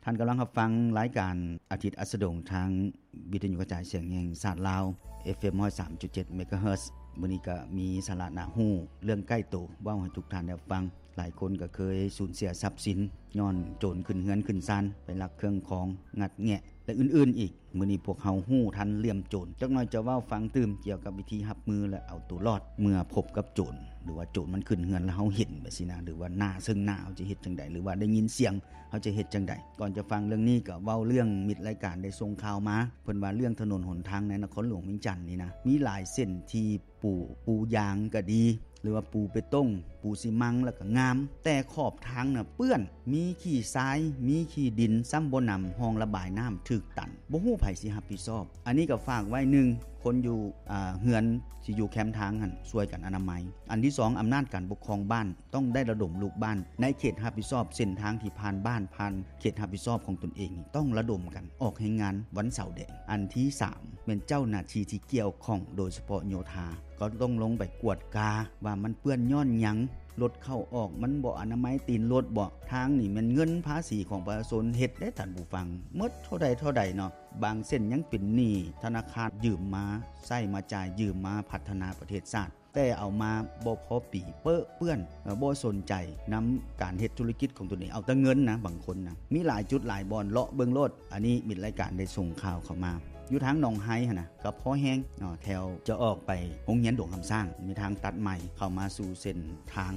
ທ່ານກຳລັງຮັບຟັງລາຍການອາທິດອັສດງ ທາງວິທະຍຸກະຈາຍສຽງແຫ່ງຊາດລາວ ເອັຟເອັມ ຮ້ອຍສາມຈຸດເຈັດ ເມກາເຮີດ. ມື້ນີ້ກໍມີສາລະໜ້າຮູ້ເລື່ອງໃກ້ໂຕ ເວົ້າໃຫ້ທຸກທ່ານໄດ້ຟັງ. ຫຼາຍຄົນກໍເຄີຍສູນເສຍຊັບສິນ ຍ້ອນໂຈນຂຶ້ນເຮືອນຂຶ້ນຊານ ໄປລັກເຄື່ອງຂອງ ງັດແງະ ແລະ ອື່ນໆອີກ. ມື້ນີ້ພວກເຮົາຮູ້ທັນຫຼ່ຽມໂຈນ. ຈັກໜ່ອຍຈະເວົ້າຟັງຕື່ມກ່ຽວກັບວິທີຮັບມື ແລະ ເອົາໂຕລອດເມື່ອພົບກັບໂຈນ ຫຼືວ່າໂຈນມັນຂຶ້ນເຮືອນແລ້ວເຮົາເຫັນແບບຊີ້ນະ ຫຼືວ່າໜ້າເຊິ່ງໜ້າເຮົາຈະເຮັດຈັ່ງໃດ ຫຼືວ່າໄດ້ຍິນສຽງເຮົາຈະເຮັດຈັ່ງໃດ. ກ່ອນຈະຟັງເລື່ອງນີ້ກໍເວົ້າເລື່ອງມິດລາຍການໄດ້ສົ່ງຂ່າວມາ ເພິ່ນວ່າເລື່ອງຖະໜົນຫົນທາງໃນນະຄອນຫຼວງວຽງຈັນນີ້ນະ ມີຫຼາຍເສັ້ນທີ່ ປູ ປູຢາງກໍດີ ຫຼືວ່າປູເບຕົງ ປູຊີມັງ ແລ້ວກໍງາມ ແຕ່ຂອບທາງນະເປື້ອນ ມີຂີ້ຊາຍ ມີຂີ້ດິນ ຊ້ຳບໍ່ໜຳ ຮ່ອງລະບາຍນ້ຳຖືກຕັນ ບໍ່ຮູ້ໃຜຊິຮັບຜິດຊອບ. ອັນນີ້ກໍຝາກໄວ້ ໜຶ່ງ ຄົນຢູ່ ອາ ເຮືອນທີ່ຢູ່ແຄມທາງຫັ້ນ ຊ່ວຍກັນອະນາໄມ. ອັນທີສອງ ອຳນາດການປົກຄອງບ້ານ ຕ້ອງໄດ້ລະດົມລູກບ້ານໃນເຂດຮັບຜິດຊອບເສັ້ນທາງທີ່ຜ່ານບ້ານ ຜ່ານເຂດຮັບຜິດຊອບຂອງຕົນເອງນີ້ ຕ້ອງລະດົມກັນອອກແຮງງານວັນເສົາແດງ. ອັນທີສາມ ແມ່ນເຈົ້າໜ້າທີ່ທີ່ກ່ຽວຂ້ອງ ໂດຍສະເພາະໂຍທາ ກໍຕ້ອງລົງໄປກວດກາວ່າມັນເປື້ອນຍ້ອນຫຍັງ, ລົດເຂົ້າອອກມັນບໍ່ອະນາໄມຕີນລົດບໍ, ທາງນີ້ແມ່ນເງິນພາສີຂອງປະຊາຊົນເຮັດເດ້ທ່ານຜູ້ຟັງ, ໝົດເທົ່າໃດເທົ່າໃດເນາະ. ບາງເສັ້ນຍັງເປັນໜີ້ທະນາຄານຢືມມາໃຊ້ມາຈ່າຍ, ຢືມມາພັດທະນາປະເທດຊາດ. ແຕ່ເອົາມາບໍ່ພໍປີ ເປິເປື້ອນ ບໍ່ສົນໃຈນຳການເຮັດທຸລະກິດຂອງຕົນເອງ, ເອົາແຕ່ເງິນນະ ບາງຄົນນະ. ມີຫຼາຍຈຸດຫຼາຍບ່ອນ ເລາະເບິ່ງໂລດ. ອັນນີ້ມິດລາຍການໄດ້ສົ່ງຂ່າວເຂົ້າມາ ຢູ່ທາງໜອງໄຮຫັ້ນນະ ກໍພໍແຮງເນາະ, ແຖວຈະອອກໄປໂຮງຮຽນຫຼວງຄຳຊ້າງ ມີທາງຕັດໃໝ່ເຂົ້າມາສູ່ເສັ້ນທາງ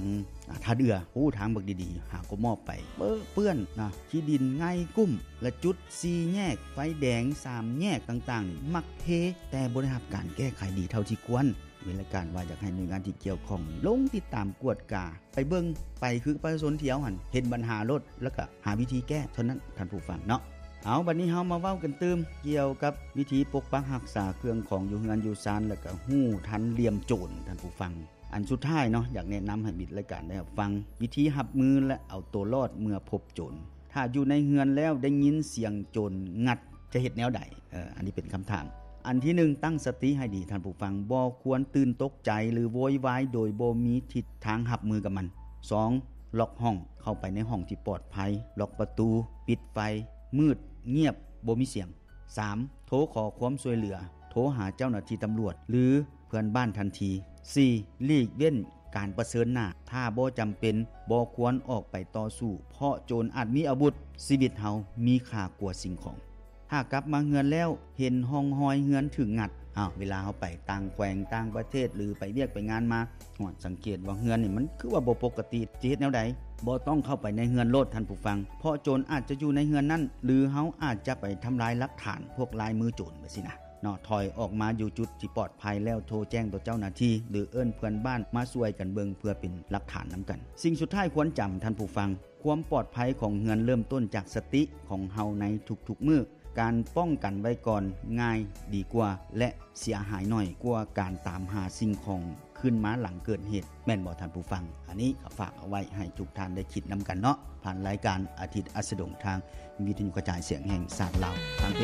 ອາ ທ່າເດື່ອ. ໂອ້ ທາງບັກດີໆ ຫາກໍມອບໄປ ເປິເປື້ອນນະ, ຂີ້ດິນໄງ່ກຸ້ມ ແລະ ຈຸດສີ່ແຍກ ໄຟແດງສາມແຍກຕ່າງໆນີ້ ມັກເພ ແຕ່ບໍ່ໄດ້ຮັບການແກ້ໄຂດີເທົ່າທີ່ຄວນ. ມີລາຍການວ່າຢາກໃຫ້ໜ່ວຍງານທີ່ກ່ຽວຂ້ອງລົງຕິດຕາມກວດກາ ໄປເບິ່ງ ໄປຄືປະຊາຊົນທ່ຽວຫັ້ນ ເຫັນບັນຫາໂລດ ແລ້ວກະຫາວິທີແກ້ເທົ່ານັ້ນທ່ານຜູ້ຟັງເນາະ. ເອົາ ບັດນີ້ເຮົາມາເວົ້າກັນຕື່ມກ່ຽວກັບວິທີປົກປັກຮັກສາເຄື່ອງຂອງຢູ່ເຮືອນຢູ່ຊານ ແລ້ວກະຮູ້ທັນຫຼ່ຽມໂຈນທ່ານຜູ້ຟັງ. ອັນສຸດທ້າຍເນາະ ຢາກແນະນຳໃຫ້ມິດລາຍການໄດ້ຮັບຟັງ ວິທີຮັບມື ແລະ ເອົາໂຕລອດເມື່ອພົບໂຈນ. ຖ້າຢູ່ໃນເຮືອນແລ້ວໄດ້ຍິນສຽງໂຈນງັດ ຈະເຮັດແນວໃດ? ເອີ ອັນນີ້ເປັນຄຳຖາມ. ອັນທີໜຶ່ງ ຕັ້ງສະຕິໃຫ້ດີທ່ານຜູ້ຟັງ, ບໍ່ຄວນຕື່ນຕົກໃຈ ຫຼື ໂວຍວາຍໂດຍບໍ່ມີທິດທາງຮັບມືກັບມັນ. ສອງ ລັອກຫ້ອງ, ເຂົ້າໄປໃນຫ້ອງທີ່ປອດໄພ, ລັອກປະຕູ, ປິດໄຟ, ມືດ, ງຽບ, ບໍ່ມີສຽງ. ສາມ ໂທຂໍຄວາມຊ່ວຍເຫຼືອ, ໂທຫາເຈົ້າໜ້າທີ່ຕຳຫຼວດ ຫຼື ເພື່ອນບ້ານທັນທີ. ສີ່ ຫຼີກເວັ້ນການປະເຊີນໜ້າ, ຖ້າບໍ່ຈຳເປັນ ບໍ່ຄວນອອກໄປຕໍ່ສູ້ ເພາະໂຈນອາດມີອາວຸດ, ຊີວິດເຮົາມີຄ່າກວ່າສິ່ງຂອງ. ຖ້າກັບມາເຮືອນແລ້ວເຫັນຮ່ອງຮອຍເຮືອນຖືກງັດ, ອ້າວ ເວລາເຮົາໄປຕ່າງແຂວງຕ່າງປະເທດ ຫຼື ໄປວຽກໄປງານມາ, ຮອດ ສັງເກດວ່າເຮືອນນີ້ມັນຄືວ່າບໍ່ປົກກະຕິ, ຈະເຮັດແນວໃດ? ບໍ່ຕ້ອງເຂົ້າໄປໃນເຮືອນໂລດທ່ານຜູ້ຟັງ, ເພາະໂຈນອາດຈະຢູ່ໃນເຮືອນນັ້ນ ຫຼື ເຮົາອາດຈະໄປທຳລາຍຫຼັກຖານພວກລາຍມືໂຈນ ແບບຊີ້ນະເນາະ. ຖອຍອອກມາຢູ່ຈຸດທີ່ປອດໄພແລ້ວ ໂທແຈ້ງຕໍ່ເຈົ້າໜ້າທີ່ ຫຼື ເອີ້ນເພື່ອນບ້ານມາຊ່ວຍກັນເບິ່ງ ເພື່ອເປັນຫຼັກຖານນຳກັນ. ສິ່ງສຸດທ້າຍຄວນຈຳທ່ານຜູ້ຟັງ, ຄວາມປອດໄພຂອງເຮືອນເລີ່ມຕົ້ນຈາກສະຕິຂອງເຮົາໃນທຸກໆມື້. ການປ້ອງກັນໄວ້ກ່ອນງ່າຍດີກວ່າ ແລະ ເສຍຫາຍໜ້ອຍກວ່າການຕາມຫາສິ່ງຂອງຄືນມາຫຼັງເກີດເຫດ, ແມ່ນບໍ່ທ່ານຜູ້ຟັງ? ອັນນີ້ກໍຝາກເອົາໄວ້ໃຫ້ທຸກທ່ານໄດ້ຄິດນຳກັນເນາະ, ຜ່ານລາຍການອາທິດອັສດງ ທາງວິທະຍຸກະຈາຍສຽງແຫ່ງຊາດລາວ, ທາງເພ